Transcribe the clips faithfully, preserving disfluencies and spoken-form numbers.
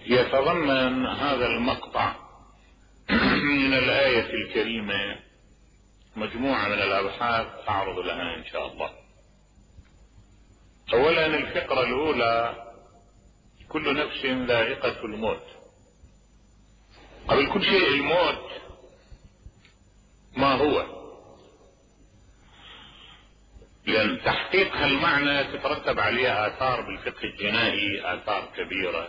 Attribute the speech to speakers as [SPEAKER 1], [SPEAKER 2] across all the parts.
[SPEAKER 1] يتضمن هذا المقطع من الآية الكريمة مجموعة من الأبحاث أعرض لها إن شاء الله. أولا الفقرة الأولى: كل نفس ذائقة الموت. قبل كل شيء الموت ما هو؟ لأن تحقيق هالمعنى تترتب عليه آثار بالفقه الجنائي، آثار كبيرة،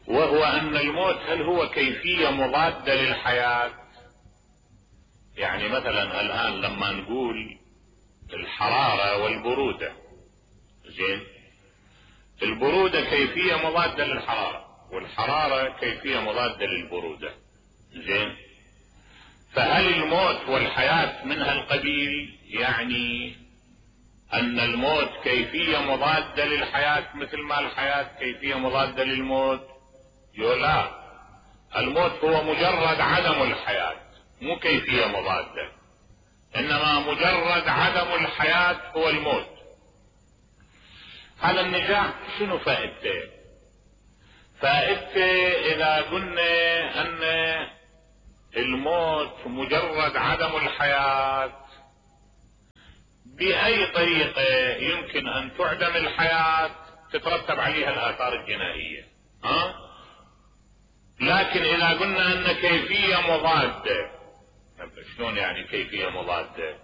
[SPEAKER 1] وهو أن الموت هل هو كيفية مضادة للحياة؟ يعني مثلا الآن لما نقول الحرارة والبرودة، زين، البرودة كيفية مضادة للحرارة، والحرارة كيفية مضادة للبرودة، زين، فهل الموت والحياة من هالقبيل؟ يعني أن الموت كيفية مضادة للحياة مثل ما الحياة كيفية مضادة للموت؟ لا، الموت هو مجرد عدم الحياة، مو كيفية مضادة، انما مجرد عدم الحياة هو الموت. هذا النزاع شنو فائدته؟ فائدته اذا قلنا ان الموت مجرد عدم الحياة، باي طريقة يمكن ان تعدم الحياة تترتب عليها الاثار الجنائية، ها؟ لكن اذا قلنا ان كيفية مضادة، شلون يعني كيفية مضادة؟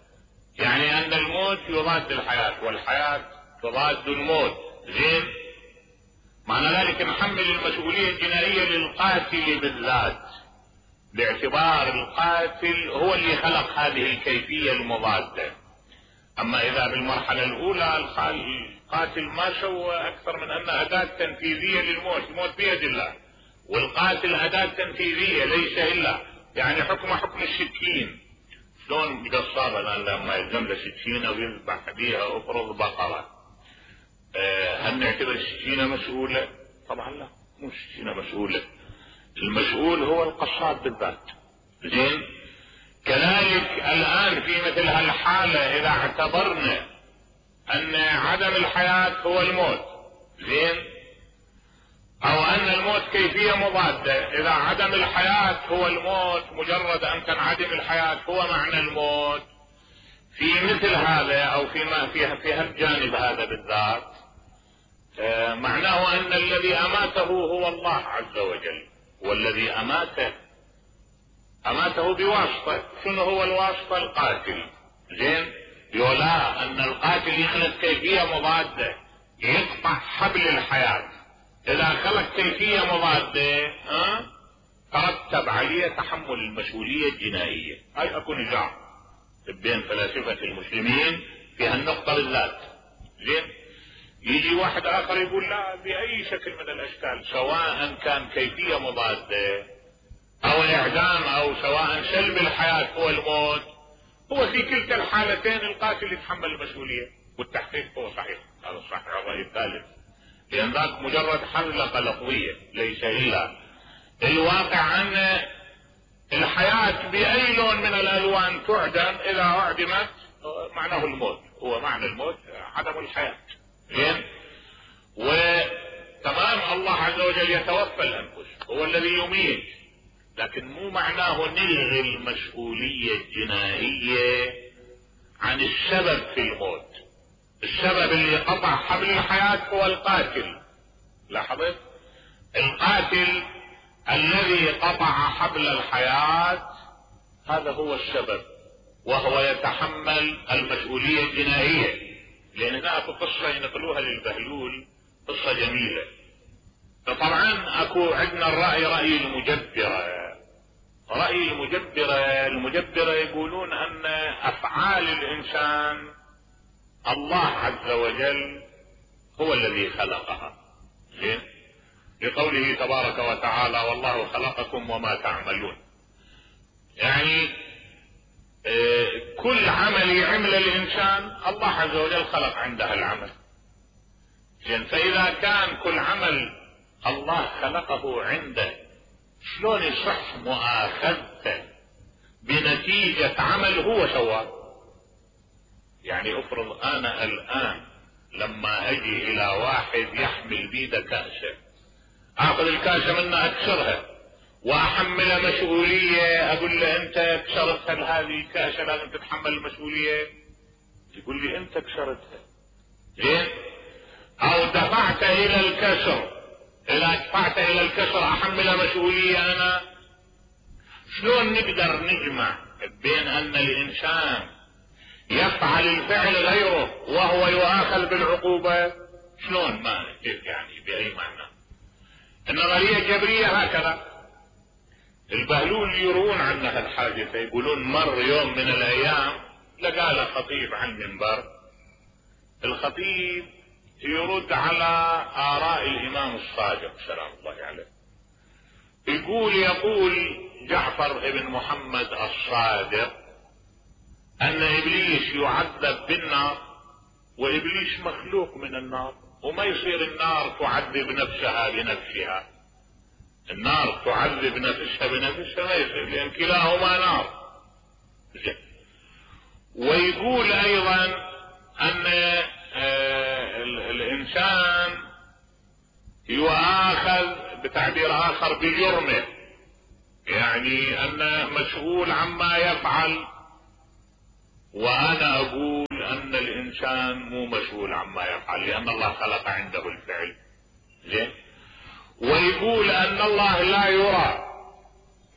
[SPEAKER 1] يعني ان الموت يضاد الحياة والحياة تضاد الموت، زين، معنى ذلك نحمل المسؤولية الجنائية للقاتل بالذات، باعتبار القاتل هو اللي خلق هذه الكيفية المضادة. اما اذا بالمرحلة الاولى القاتل ما سوى اكثر من ان اداة تنفيذية للموت، الموت بيد الله، والقاتل اداة تنفيذية ليس الا، يعني حكم حكم السكين. شلون القصاب الان لما يلزم له سكينه ويذبح بيها افرض بقره، أه هل نعتبر السكينه مسؤوله؟ طبعا لا، مو السكينه مسؤوله، المسؤول هو القصاب بالذات، زين. كذلك الان في مثل هالحاله اذا اعتبرنا ان عدم الحياه هو الموت، زين، او ان الموت كيفية مضادة، اذا عدم الحياة هو الموت، مجرد ان تنعدم الحياة هو معنى الموت، في مثل هذا او فيما فيها في هالجانب هذا بالذات، آه معناه ان الذي اماته هو الله عز وجل، والذي اماته اماته بواسطة، شنو هو الواسطة؟ القاتل، زين، يولا ان القاتل يخلق كيفية مضادة يقطع حبل الحياة، اذا خلق كيفية مضادة ها ترتب عليه تحمل المسؤولية الجنائية. هاي اكو نزاع بين فلاسفة المسلمين في هالنقطة بالذات، زين. يجي واحد اخر يقول لا، باي شكل من الاشكال، سواء كان كيفية مضادة او الاعدام او سواء سلب الحياة هو الموت، هو في كلتا الحالتين القاتل يتحمل المسؤولية، والتحقيق هو صحيح، هذا الصحيح الرأي الثالث، لأن ذاك مجرد حلقة لفظية ليس إلا. الواقع أن الحياة بأي لون من الألوان تعدم، إذا أعدمت معناه الموت، هو معنى الموت عدم الحياة، زين. وتمام الله عز وجل يتوفى الأنفس، هو الذي يميت، لكن مو معناه نلغي المسؤولية الجنائية عن السبب في الموت. السبب اللي قطع حبل الحياة هو القاتل، لاحظت؟ القاتل الذي قطع حبل الحياة هذا هو السبب، وهو يتحمل المسؤولية الجنائية. لان هناك قصة ينقلوها للبهلول، قصة جميلة. فطبعا اكو عندنا الرأي رأي المجبرة، رأي المجبرة المجبرة يقولون ان افعال الانسان الله عز وجل هو الذي خلقها، زين، لقوله تبارك وتعالى والله خلقكم وما تعملون، يعني اه كل عمل يعمل الانسان الله عز وجل خلق عنده العمل، زين. فاذا كان كل عمل الله خلقه عنده، شلون يصح مؤاخذته بنتيجة عمل هو سواه؟ يعني افرض انا الان لما اجي الى واحد يحمل بيده كأسه اخذ الكاسة منه اكسرها واحمله مسؤولية، اقول له انت كسرت هذه الكاسة لازم تتحمل المسؤولية، يقول لي انت كسرتها. زين؟ او دفعت الى الكسر، اذا دفعت الى الكسر احمل مسؤولية انا. شلون نقدر نجمع بين ان الانسان يفعل الفعل غيره وهو يؤاخذ بالعقوبة؟ شلون؟ ما كيف يعني؟ باي معنى؟ النظرية الجبرية هكذا. البهلول يروون عنها الحادثة، يقولون مر يوم من الايام لقى له خطيب على المنبر، الخطيب يرد على آراء الإمام الصادق سلام الله عليه، يقول يقول جعفر بن محمد الصادق أن إبليس يعذب بالنار، وإبليس مخلوق من النار، وما يصير النار تعذب نفسها بنفسها، النار تعذب نفسها بنفسها ما يصير، لأن كلاهما نار. ويقول أيضا أن آه الانسان يؤاخذ بتعبير اخر بجرمه، يعني انه مسؤول عما يفعل، وانا اقول ان الانسان مو مسؤول عما يفعل لان الله خلق عنده الفعل. زين؟ ويقول ان الله لا يرى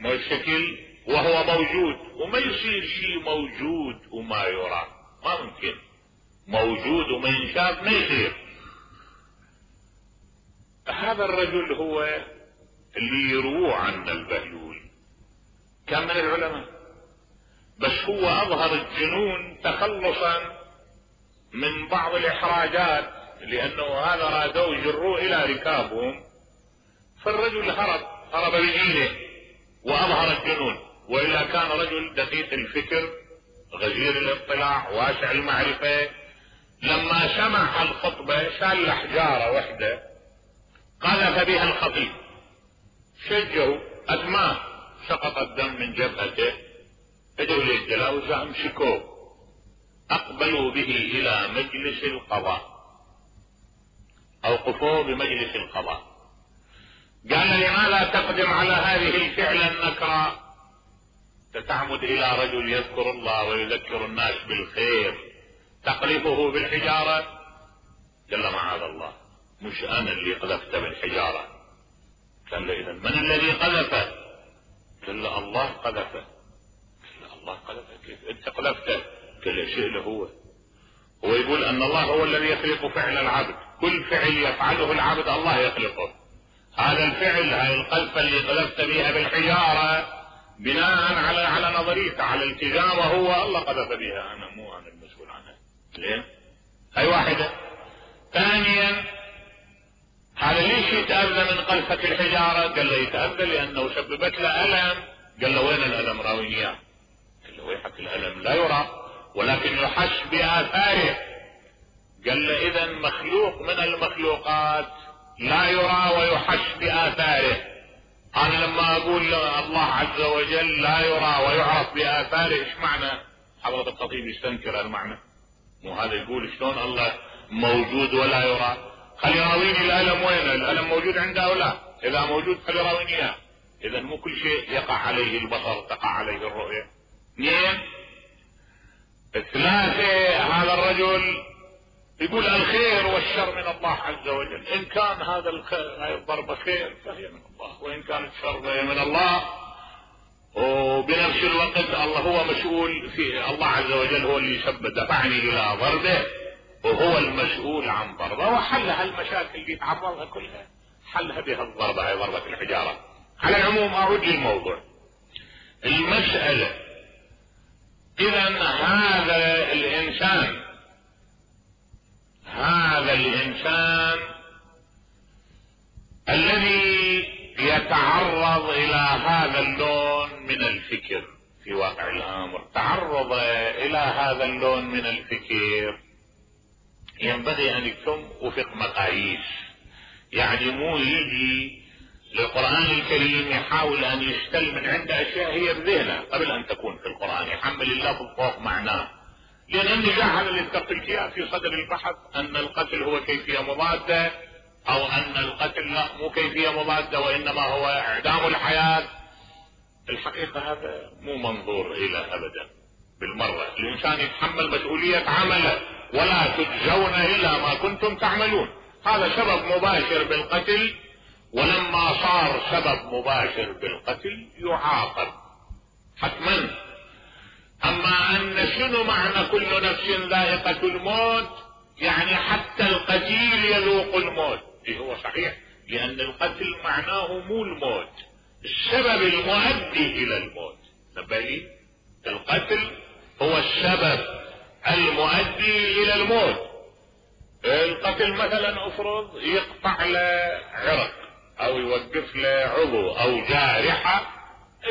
[SPEAKER 1] ما الشكل وهو موجود، وما يصير شيء موجود وما يرى، ما ممكن موجود وما ينشاف ما يصير. هذا الرجل هو اللي يروى عن البهلول، كان من العلماء، بس هو اظهر الجنون تخلصا من بعض الاحراجات، لانه هذا رادوا يجروه الى ركابهم، فالرجل هرب هرب بجيله واظهر الجنون، والا كان رجل دقيق الفكر غزير الاطلاع واسع المعرفة. لما سمع الخطبة شال حجارة وحدة قذف بها الخطيب، شجوا ادماه، سقط الدم من جبهته، اجوا للجلاوزة امسكوه، اقبلوا به الى مجلس القضاء، اوقفوه بمجلس القضاء. قال لماذا تقدم على هذه الفعل النكرة؟ تتعمد الى رجل يذكر الله ويذكر الناس بالخير تقذفه بالحجارة؟ قال معاذ الله، مش انا اللي قذفت بالحجارة. قال له اذا من الذي قذفه؟ قال له الله قذفه. قال له الله قذفه كيف انت قذفته؟ قال له شيء له هو هو يقول ان الله هو الذي يخلق فعل العبد، كل فعل يفعله العبد الله يخلقه. هذا الفعل هاي القذفة اللي قذفت بها بالحجارة بناء على على نظريته على التزامه هو الله قذف بها، انا مو انا المسؤول عنها. ليه؟ هاي واحدة. ثانيا هذا ليش يتأذى من قذفة الحجارة؟ قال له يتأذى لانه سببت له الم. قال له وين الالم؟ راويني اياه. قال له ويحك الالم لا يرى ولكن يحس باثاره. قال له اذا مخلوق من المخلوقات لا يرى ويحس باثاره. انا لما اقول الله عز وجل لا يرى ويعرف باثاره، ايش معنى؟ حضرة الخطيب يستنكر المعنى، مو هذا يقول شلون الله موجود ولا يرى؟ خلي يراويني الالم وين؟ الالم موجود عنده او لا؟ اذا موجود خلي يراويني اياه. اذا مو كل شيء يقع عليه البصر تقع عليه الرؤية. اثنين ثلاثة هذا الرجل يقول الخير والشر من الله عز وجل، ان كان هذا الخير هاي الضربة خير فهي من الله، وان كانت شر فهي من الله. وبنفس الوقت الله هو مسؤول، في الله عز وجل هو اللي سبب دفعني الى ضربه وهو المسؤول عن ضربه، وحل هالمشاكل اللي تعرضها كلها حلها بها الضربة، هي ضربة الحجارة. على العموم اعود للموضوع المسألة. اذا هذا الانسان هذا الانسان الذي يتعرض الى هذا اللون من الفكر في واقع الامر، تعرض الى هذا اللون من الفكر، ينبغي ان يتم وفق مقاييس. يعني مو يجي للقرآن الكريم يحاول ان يستل من عند اشياء هي بذهنه قبل ان تكون في القرآن، يحمل اللفظ فوق معناه. لان النجاح اللي اتقلت اياه في صدر البحث ان القتل هو كيفية مضادة او ان القتل لا مو كيفية مضادة وانما هو اعدام الحياة. الحقيقة هذا مو منظور الى ابدا بالمرة. الانسان يتحمل مسؤولية عمله ولا تجزون الا ما كنتم تعملون. هذا سبب مباشر بالقتل، ولما صار سبب مباشر بالقتل يعاقب حتما. اما ان شنو معنى كل نفس ذائقة الموت؟ يعني حتى القتيل يذوق الموت. إيه هو صحيح، لان القتل معناه مو الموت، السبب المؤدي الى الموت. نبالي القتل هو السبب المؤدي الى الموت. القتل مثلا افرض يقطع له عرق او يوقف له عضو او جارحة.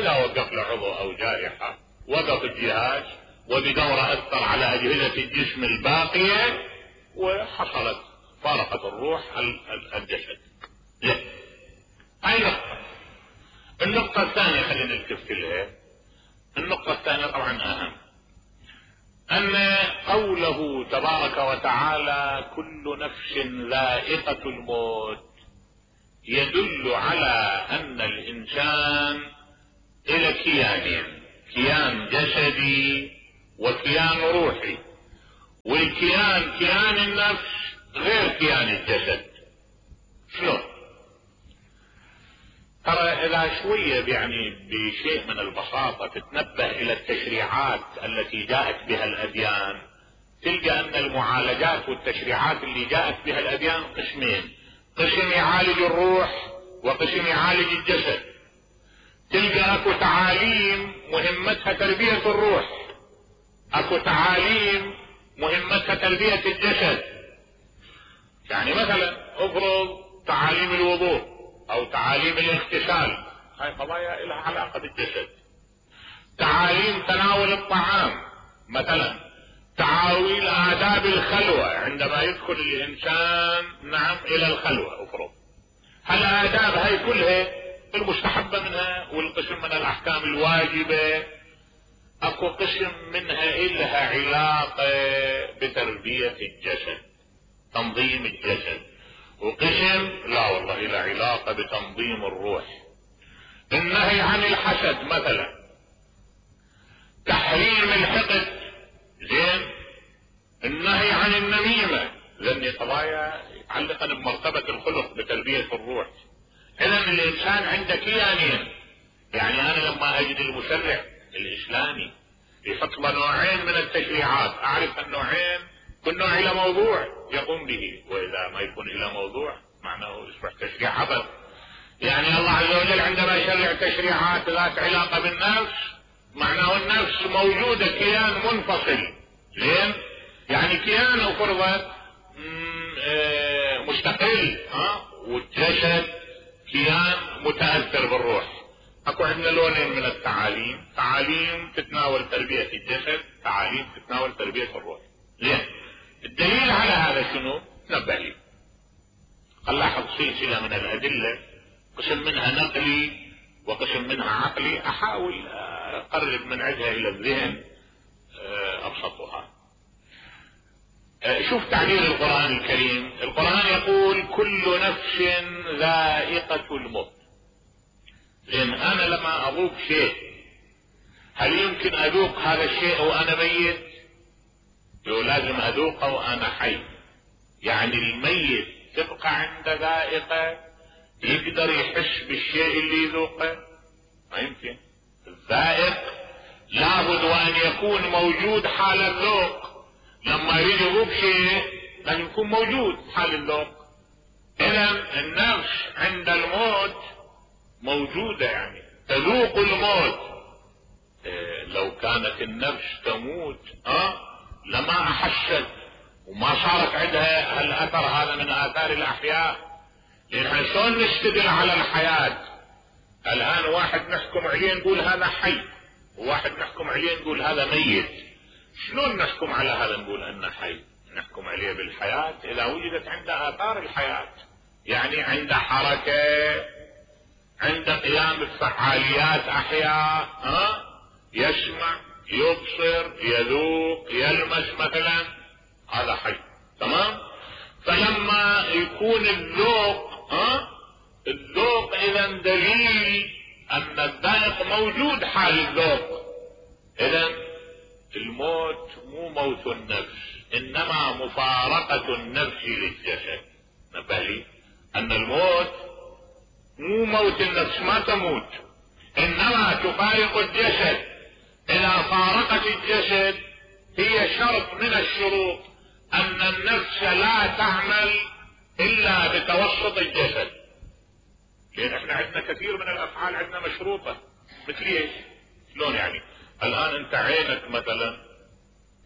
[SPEAKER 1] اذا وقف له عضو او جارحة وقف الجهاز وبدوره اثر على اجهزة الجسم الباقية وحصلت فارقت الروح الجسد. هاي نقطة. النقطة الثانية خلينا نلتفت لها. النقطة الثانية طبعا اهم، ان قوله تبارك وتعالى كل نفس ذائقة الموت يدل على ان الانسان الى كيانين، كيان جسدي وكيان روحي. والكيان كيان النفس غير كيان الجسد. شلون؟ ترى اذا شوية يعني بشيء من البساطة تتنبه الى التشريعات التي جاءت بها الاديان، تلقى ان المعالجات والتشريعات اللي جاءت بها الاديان قسمين، قسم يعالج الروح وقسم يعالج الجسد. تلقى اكو تعاليم مهمتها تربية الروح، اكو تعاليم مهمتها تربية الجسد. يعني مثلا افرض تعاليم الوضوء او تعاليم الاغتسال، هاي قضايا لها علاقة بالجسد. تعاليم تناول الطعام مثلا، تعاويل آداب الخلوة عندما يدخل الانسان نعم الى الخلوة افرض. هالآداب هاي كلها المستحبة منها والقسم من الاحكام الواجبة. اكو قسم منها الها علاقة بتربية الجسد، تنظيم الجسد، وقسم لا والله الى علاقة بتنظيم الروح. النهي عن الحسد مثلا، تحريم الحقد، زين، النهي عن النميمة، لان قضايا يتعلقا بمرتبة الخلق بتربية الروح. اذا الانسان عنده كيانين. يعني انا لما اجد المشرع الاسلامي يحط له نوعين من التشريعات، اعرف النوعين كل نوع الى موضوع يقوم به، واذا ما يكون الى موضوع معناه يصبح تشريع عبث. يعني الله عز وجل عندما يشرع تشريعات ذات علاقة بالنفس معناه النفس موجودة كيان منفصل، زين، يعني كيان افرض مستقل، ها، والجسد كيان متأثر بالروح. اكو عندنا لونين من التعاليم، تعاليم تتناول تربية الجسد، تعاليم تتناول تربية الروح. زين، الدليل على هذا شنو؟ نبه لي. نلاحظ سلسلة من الادلة، قسم منها نقلي وقسم منها عقلي، احاول اقرب من عندها الى الذهن ابسطها. شوف تعبير القرآن الكريم. القرآن يقول كل نفس ذائقة الموت. لان انا لما اذوق شيء هل يمكن اذوق هذا الشيء وانا ميت؟ لو لازم اذوقه وانا حي. يعني الميت تبقى عنده ذائقة يقدر يحس بالشيء اللي يذوقه؟ ما يمكن. الذائق لابد وان يكون موجود حال الذوق. لما يريد يذوق شيء لازم يكون موجود حال الذوق. اذا النفس عند الموت موجودة، يعني تذوق الموت. إيه لو كانت النفس تموت اه لما احست وما صارت عندها هالاثر هذا من اثار الاحياء. لان شلون نستدل على الحياة؟ الان واحد نحكم عليه نقول هذا حي، وواحد نحكم عليه نقول هذا ميت. شلون نحكم على هذا نقول انه حي؟ نحكم عليه بالحياة اذا وجدت عنده اثار الحياة، يعني عنده حركة، عنده قيام بفعاليات احياء، ها، يسمع، يبصر، يذوق، يلمس مثلا، هذا حي. تمام؟ فلما يكون الذوق ها الذوق اذا دليل ان الذائق موجود حال الذوق. اذا الموت مو موت النفس، انما مفارقة النفس للجسد. نبه لي ان الموت مو موت النفس، ما تموت، انما تفارق الجسد. اذا فارقت الجسد هي شرط من الشروط ان النفس لا تعمل الا بتوسط الجسد. لان احنا عندنا كثير من الافعال عندنا مشروطة. مثل ايش؟ شلون يعني؟ الان انت عينك مثلا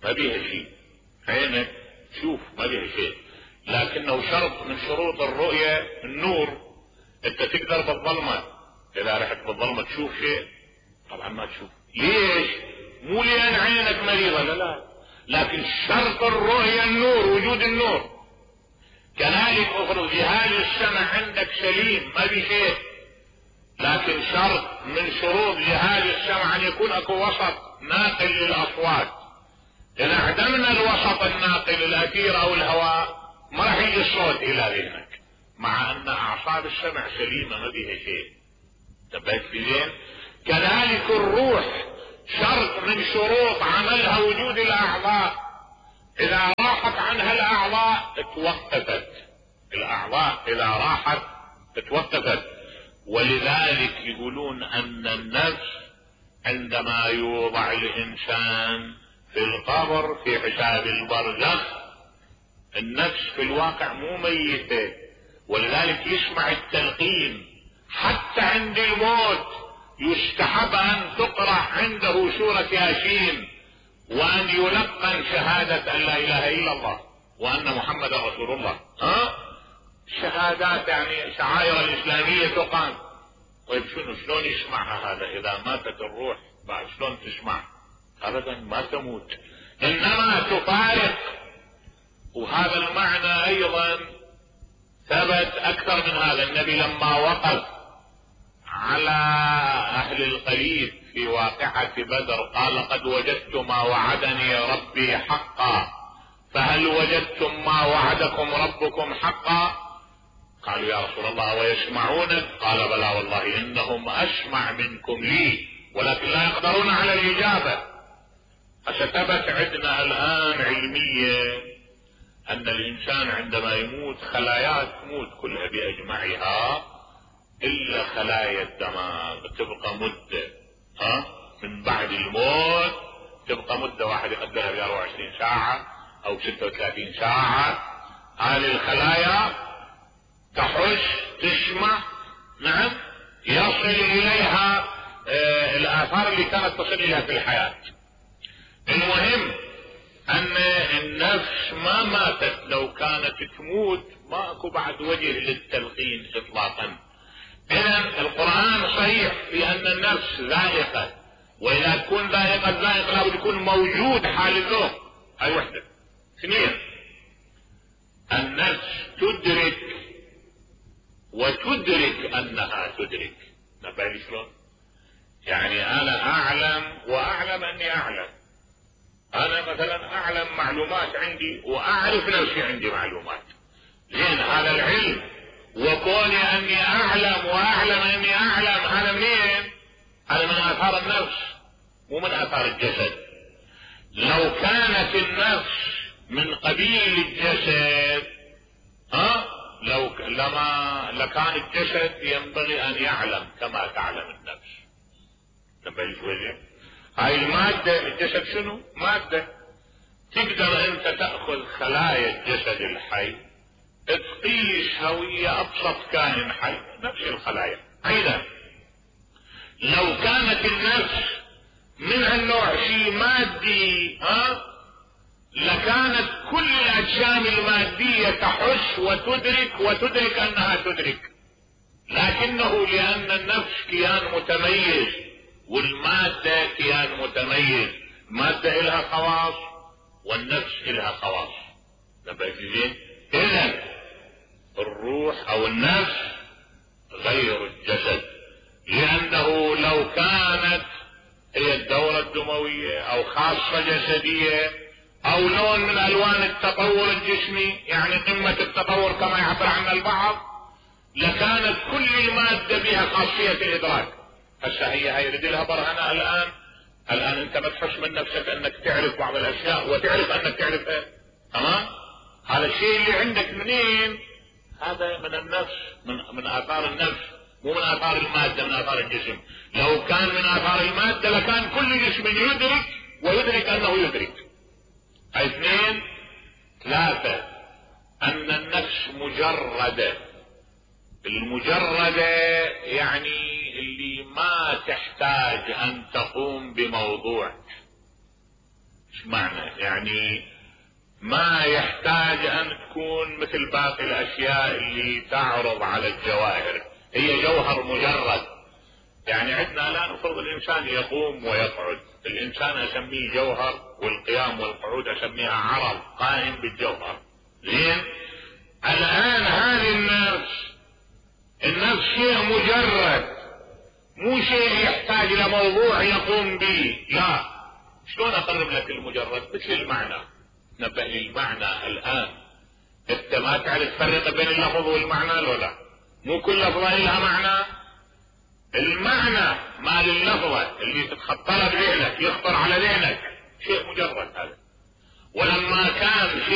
[SPEAKER 1] ما بيها شيء، عينك شوف ما بيها شيء، لكنه شرط من شروط الرؤية النور. انت تقدر بالظلمة اذا رحت بالظلمة تشوف شيء؟ طبعا ما تشوف. ليش؟ مو لان عينك مريضة، لا لا، لكن شرط الرؤية النور، وجود النور. كذلك افرض جهاز السمع عندك سليم ما بي شيء، لكن شرط من شروط جهاز السمع ان يكون اكو وسط ناقل للاصوات. اذا عدمنا الوسط الناقل الاثير او الهواء ما راح يجي الصوت الى ذهنك، مع ان اعصاب السمع سليمة ما بيها شيء. انتبهت في زين؟ كذلك الروح شرط من شروط عملها وجود الاعضاء. اذا راحت عنها الاعضاء توقفت، الاعضاء اذا راحت توقفت. ولذلك يقولون ان النفس عندما يوضع الانسان في القبر في حساب البرزخ، النفس في الواقع مو ميتة، ولذلك يسمع التلقين. حتى عند الموت يستحب ان تقرأ عنده سورة ياسين، وان يلقن شهادة ان لا اله الا الله وان محمد رسول الله. ها شهادات يعني شعائر الاسلامية تقام. طيب شنو شلون يسمعها هذا اذا ماتت الروح؟ بعد شلون تسمع؟ ابدا ما تموت، انما تفارق. وهذا المعنى ايضا ثبت اكثر من هذا. النبي لما وقف على اهل القليب في واقعة بدر قال قد وجدت ما وعدني ربي حقا، فهل وجدتم ما وعدكم ربكم حقا؟ قالوا يا رسول الله ويسمعونك؟ قال بلى والله انهم اسمع منكم لي ولكن لا يقدرون على الاجابة. فثبت عندنا الان علميا ان الانسان عندما يموت خلاياه تموت كلها باجمعها الا خلايا الدماغ تبقى مدة. ها من بعد الموت تبقى مدة، واحد يقدرها ب أربعة وعشرين ساعة او ستة وثلاثين ساعة. هذه الخلايا تحس تسمع، نعم، يصل اليها آه الاثار اللي كانت تصل اليها في الحياة. المهم ان النفس ما ماتت، لو كانت تموت ما اكو بعد وجه للتلقين اطلاقا. اذا القرآن صحيح في ان النفس ذائقة، واذا تكون ذائقة ذائقة لابد يكون موجود حال الذوق. هاي وحدة. اثنين، النفس تدرك وتدرك انها تدرك. نبالي شلون؟ يعني انا اعلم واعلم اني اعلم. انا مثلا اعلم معلومات عندي واعرف نفسي عندي معلومات. زين هذا العلم وكوني اني اعلم واعلم اني اعلم هذا منين؟ هذا من اثار النفس مو من اثار الجسد. لو كانت النفس من قبيل الجسد ها لو لما لكان الجسد ينبغي ان يعلم كما تعلم النفس. تنبغي شوية. هاي المادة الجسد شنو؟ مادة. تقدر انت تأخذ خلايا الجسد الحي تقيس هوية ابسط كائن حي، نفس الخلايا. ايضا لو كانت النفس من هالنوع شيء مادي ها لكانت كل الاجسام المادية تحس وتدرك وتدرك انها تدرك، لكنه لان النفس كيان متميز والمادة كيان متميز، المادة الها خواص والنفس الها خواص. نبقى زين. اذا الروح او النفس غير الجسد، لانه لو كانت هي الدورة الدموية او خاصة جسدية او لون من الوان التطور الجسمي، يعني قمة التطور كما يعبر عنها البعض، لكانت كل المادة بها خاصية الادراك. هسه هي هاي يريد لها برهنة الان. الان انت ما تحس من نفسك انك تعرف بعض الاشياء وتعرف انك تعرفها، تمام؟ هذا الشيء اللي عندك منين؟ هذا من النفس، من من اثار النفس، مو من اثار المادة، من اثار الجسم. لو كان من اثار المادة لكان كل جسم يدرك ويدرك انه يدرك. اثنين. ثلاثة، ان النفس مجردة. المجردة يعني اللي ما تحتاج ان تقوم بموضوع. ايش معنى؟ يعني ما يحتاج ان تكون مثل باقي الاشياء اللي تعرض على الجواهر، هي جوهر مجرد. يعني عندنا الان نفرض الانسان يقوم ويقعد، الانسان اسميه جوهر، والقيام والقعود اسميها عرض قائم بالجوهر. زين؟ الان هذه النفس، النفس شيء مجرد، مو شيء يحتاج الى موضوع يقوم به. لا، شلون اقرب لك المجرد؟ مثل المعنى. نبه لي المعنى الان. انت ما تعرف تفرق بين اللفظ والمعنى لو لا؟ مو كل لفظة لها معنى. المعنى مال اللفظة اللي تتخطرها بذهنك، يخطر على ذهنك، شيء مجرد هذا. ولما كان